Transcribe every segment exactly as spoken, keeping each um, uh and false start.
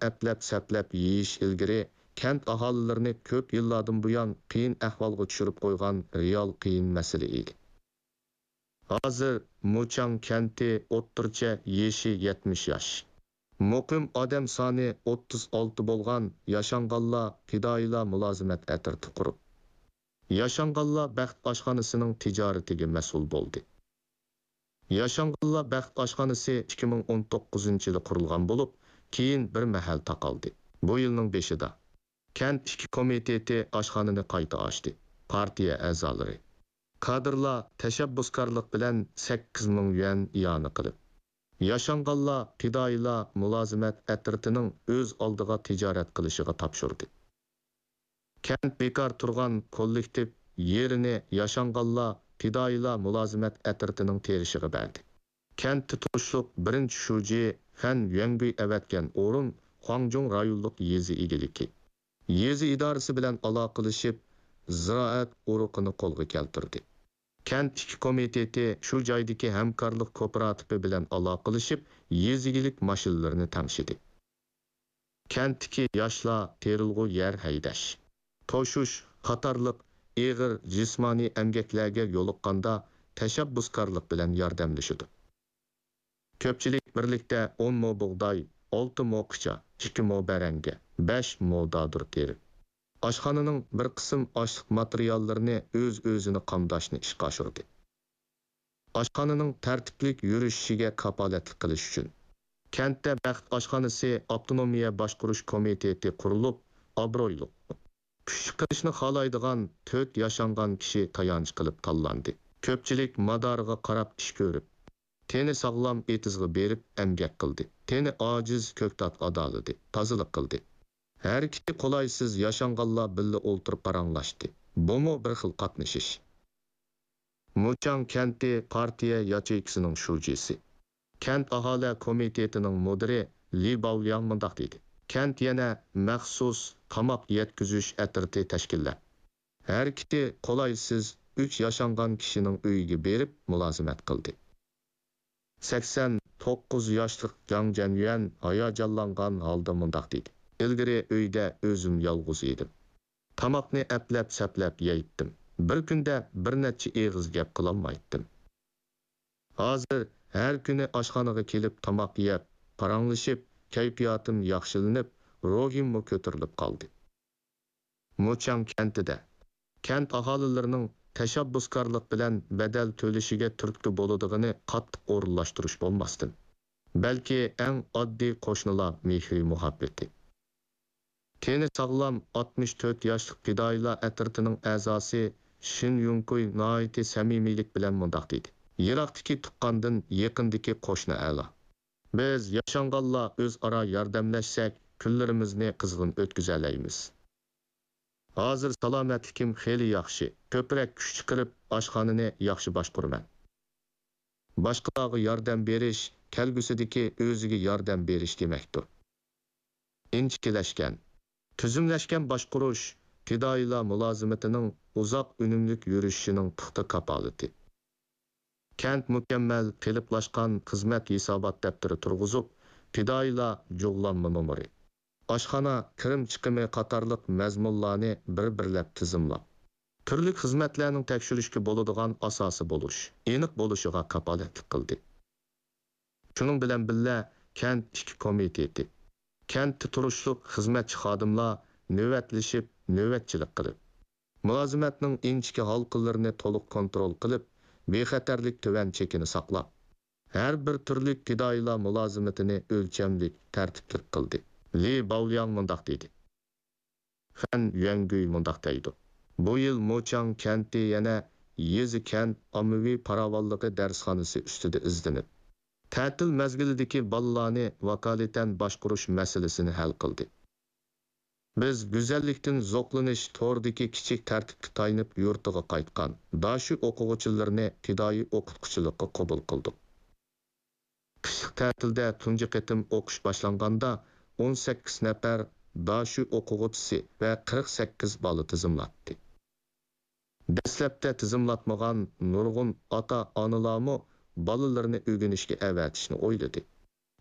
ئەپلەپ-سەپلەپ يېيىش ئىلگىرى كەنت ئاھالىلىرىنى كۆپ يىللاردىن بۇيان قىيىن ئەھۋالغا چۈشۈرۈپ قويغان رېئال قىيىن مەسىلە ئىدى. ھازىر مۇچاڭ كەنتى ئوتتۇرىچە يېشى يەتمىش ياش، مۇقىم ئادەم سانى ئوتتۇز ئالتە بولغان ياشانغانلار پىدائىيلار مۇلازىمەت ئەترىتى قۇرۇپ، ياشانغانلار بەخت ئاشخانىسىنىڭ تىجارىتىگە مەسئۇل بولدى. ياشانغانلار بەخت ئاشخانىسى ئىككى مىڭ ئون توققۇزىنچى يىلى قۇرۇلغان بولۇپ، كېيىن بىر مەھەل تاقالدى. بۇ يىلنىڭ بېشىدا كەنت ئىچكى كومىتېتى ئاشخانىنى قايتا ئاچتى. پارتىيە ئەزالىرى، كادىرلار تەشەببۇسكارلىق بىلەن سەككىز مىڭ يۈەن ئىئانە قىلىپ، ياشانغانلار پىدائىيلار مۇلازىمەت ئەترىتىنىڭ ئۆز ئالدىغا تىجارەت قىلىشىغا تاپشۇردى. كەنت بىكار تۇرغان كوللېكتىپ يېرىنى ياشانغانلار پىدائىيلار مۇلازىمەت ئەترىتىنىڭ تېرىشىغا بەردى. كەنتتە تۇرۇشلۇق بىرىنچى شۇجى فەن يۈەنگۈي ئەۋەتكەن ئورۇن خۇاڭجۇڭ رايونلۇق يېزا ئىگىلىكى، يېزا ئىدارىسى بىلەن ئالاقىلىشىپ، زىرائەت ئۇرۇقىنى قولغا كەلتۈردى. كەنت ئىچكى كومىتېتى شۇ جايدىكى ھەمكارلىق كوپىراتىپى بىلەن ئالاقىلىشىپ، يېزا ئىگىلىك ماشىنىلىرىنى تەڭشىدى. كەنتتىكى ياشلار تېرىلغۇ يەر ھەيدەش، توشۇش قاتارلىق ئېغىر جىسمانىي ئەمگەكلەرگە يولۇققاندا تەشەببۇسكارلىق بىلەن ياردەملىشىدۇ. كۆپچىلىك بىرلىكتە ئون مو بۇغداي، ئالتە مو قىچا، ئىككى مو بەرەڭگە، بەش مو دادۇر تېرىپ، ئاشخانىنىڭ بىر قىسىم ئاشلىق ماتېرىياللىرىنى ئۆز-ئۆزىنى قامداشنى ئىشقا ئاشۇردى. ئاشخانىنىڭ تەرتىپلىك يۈرۈشۈشىگە كاپالەتلىك قىلىش ئۈچۈن، كەنتتە بەخت ئاشخانىسى ئاپتونومىيە باشقۇرۇش كومىتېتى قۇرۇلۇپ، ئابرۇيلۇق، كۈچ چىقىرىشنى خالايدىغان تۆت ياشانغان كىشى تايانچ قىلىپ تاللاندى. كۆپچىلىك مادارىغا قاراپ ئىش كۆرۈپ، تېنى ساغلام ئېتىزغا بېرىپ ئەمگەك قىلدى. تېنى ئاجىز كۆكتات ئادالىدى، تازىلىق قىلدى. ھەرىكىتى قولايسىز ياشانغانلار بىللە ئولتۇرۇپ پاراڭلاشتى. بۇمۇ بىر خىل قاتنىشىش. مۇچاڭ كەنتى پارتىيە ياچېيكىسىنىڭ شۇجىسى، كەنت ئاھالە كومىتېتىنىڭ مۇدىرى لى باۋلياڭ مۇنداق دېدى: كەنت يەنە مەخسۇس تاماق يەتكۈزۈش ئەترىتى تەشكىللەپ، ھەرىكىتى قولايسىز ئۈچ ياشانغان كىشىنىڭ ئۆيىگە بېرىپ مۇلازىمەت قىلدى. سەكسەن توققۇز ياشلىق جاڭ جەنيۈەن ھاياجانلانغان ھالدا مۇنداق دېدى: ئىلگىرى ئۆيدە ئۆزۈم يالغۇز ئىدىم. تاماقنى ئەپلەپ-سەپلەپ يەيتتىم. بىر كۈندە بىر نەچچە ئېغىز گەپ قىلالمايتتىم. ھازىر ھەر كۈنى ئاشخانىغا كېلىپ تاماق يەپ، پاراڭلىشىپ، كەيپىياتىم ياخشىلىنىپ، روھىممۇ كۆتۈرۈلۈپ قالدى. مۇچاڭ كەنتىدە كەنت ئاھالىلىرىنىڭ تەشەببۇسكارلىق بىلەن بەدەل تۆلىشىگە تۈرتكە بولىدىغىنى قاتتىق ئورۇنلاشتۇرۇش بولماستىن، بەلكى ئەڭ ئاددىي قوشنىلار مېھرى-مۇھەببىتى. تېنى ساغلام ئاتمىش تۆت ياشلىق پىدائىيلار ئەترىتىنىڭ ئەزاسى شىن يۇڭكۇي ناھايىتى سەمىمىيلىك بىلەن مۇنداق دېدى: يىراقتىكى تۇغقاندىن يېقىندىكى قوشنا ئەلا. بىز ياشانغانلار ئۆزئارا ياردەملەشسەك، كۈنلىرىمىزنى قىزغىن ئۆتكۈزەلەيمىز. ھازىر سالامەتلىكىم خېلى ياخشى، كۆپرەك كۈچ چىقىرىپ، ئاشخانىنى ياخشى باشقۇرىمەن. باشقىلارغا ياردەم بېرىش، كەلگۈسىدىكى ئۆزىگە ياردەم بېرىش دېمەكتۇر. ئىنچىكىلەشكەن، تۈزۈملەشكەن باشقۇرۇش پىدائىيلار مۇلازىمىتىنىڭ ئۇزاق ئۈنۈملۈك يۈرۈشۈشىنىڭ پۇختا كاپالىتى. كەنت مۇكەممەل قېلىپلاشقان خىزمەت ھېسابات دەپتىرى تۇرغۇزۇپ، پىدائىيلار جۇغلانما نومۇرى، ئاشخانا كىرىم چىقىمى قاتارلىق مەزمۇنلارنى بىر-بىرلەپ تىزىملاپ، تۈرلۈك خىزمەتلەرنىڭ تەكشۈرۈشكە بولىدىغان ئاساسى بولۇش، ئېنىق بولۇشىغا كاپالەتلىك قىلدى. شۇنىڭ بىلەن بىللە، كەنت ئىچكى كومىتېتى كەنتتە تۇرۇشلۇق خىزمەتچى خادىملار نۆۋەتلىشىپ، نۆۋەتچىلىك قىلىپ، مۇلازىمەتنىڭ ئىنچىكە ھالقىلىرىنى تولۇق كونترول قىلىپ، بىخەتەرلىك تۆۋەن چېكىنى ساقلاپ، ھەر بىر تۈرلۈك پىدائىيلار مۇلازىمىتىنى ئۆلچەملىك، تەرتىپلىك قىلدى. لى باۋلياڭ مۇنداق دېدى. فەن يۈەنگۈي مۇنداق دەيدۇ: بۇ يىل موچاڭ كەنتى يەنە يېزا-كەنت ئاممىۋى پاراۋانلىقى دەرسخانىسى ئۈستىدە ئىزدىنىپ، تەتىل مەزگىلىدىكى بالىلارنى ۋاكالىتەن باشقۇرۇش مەسىلىسىنى ھەل قىلدى. بىز گۈزەللىكتىن زوقلىنىش توردىكى كىچىك تەرتىپكە تايىنىپ يۇرتىغا قايتقان داشۈ ئوقۇغۇچىلىرىنى پىدائىي ئوقۇتقۇچىلىققا قوبۇل قىلدۇق. قىشلىق تەتىلدە تۇنجى قېتىم ئوقۇش باشلانغاندا، ئون سەككىز نەپەر داشۈ ئوقۇغۇچىسى ۋە قىرىق سەككىز بالا تىزىملاتتى. دەسلەپتە تىزىملاتمىغان نۇرغۇن ئاتا-ئانىلارمۇ بالىلىرىنى ئۆگىنىشكە ئەۋەتىشنى ئويلىدى.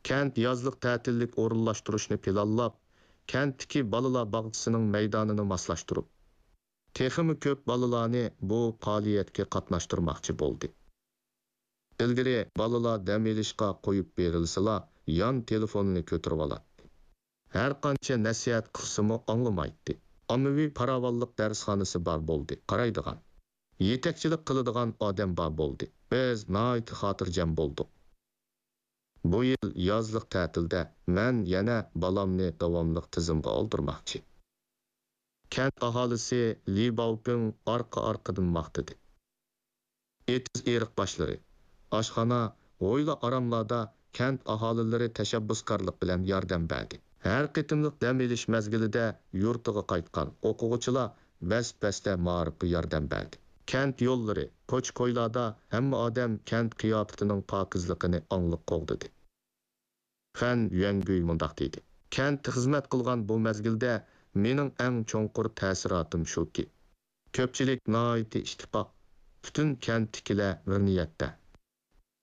كەنت يازلىق تەتىللىك ئورۇنلاشتۇرۇشنى پىلانلاپ، كەنتتىكى بالىلار باغچىسىنىڭ مەيدانىنى ماسلاشتۇرۇپ، تېخىمۇ كۆپ بالىلارنى بۇ پائالىيەتكە قاتناشتۇرماقچى بولدى. ئىلگىرى بالىلار دەم ئېلىشقا قويۇپ بېرىلسىلا، يان تېلېفوننى كۆتۈرۈۋالاتتى. ھەرقانچە نەسىھەت قىلسىمۇ ئاڭلىمايتتى. ئاممىۋى پاراۋانلىق دەرسخانىسى بار بولدى، قارايدىغان، يېتەكچىلىك قىلىدىغان ئادەم بار بولدى. بىز ناھايىتى خاتىرجەم بولدۇق. بۇ يىل يازلىق تەتىلدە مەن يەنە بالامنى داۋاملىق تىزىمغا ئالدۇرماقچى. كەنت ئاھالىسى لى باۋپىڭ ئارقا-ئارقىدىن ماختىدى. ئېتىز ئېرىق باشلىرى، ئاشخانا، ھويلا-ئاراملاردا كەنت ئاھالىلىرى تەشەببۇسكارلىق بىلەن ياردەم بەردى. ھەر قېتىملىق دەم ئېلىش مەزگىلىدە يۇرتىغا قايتقان ئوقۇغۇچىلار بەس-بەستە مائارىپقا ياردەم بەردى. كەنت يوللىرى، كوچا-كويلاردا ھەممە ئادەم كەنت قىياپىتىنىڭ پاكىزلىقىنى ئاڭلىق قوغدىدى. فەن يۈەنگۈي مۇنداق دېدى: كەنتتە خىزمەت قىلغان بۇ مەزگىلدە مېنىڭ ئەڭ چوڭقۇر تەسىراتىم شۇكى، كۆپچىلىك ناھايىتى ئىتتىپاق، پۈتۈن كەنتتىكىلەر بىر نىيەتتە.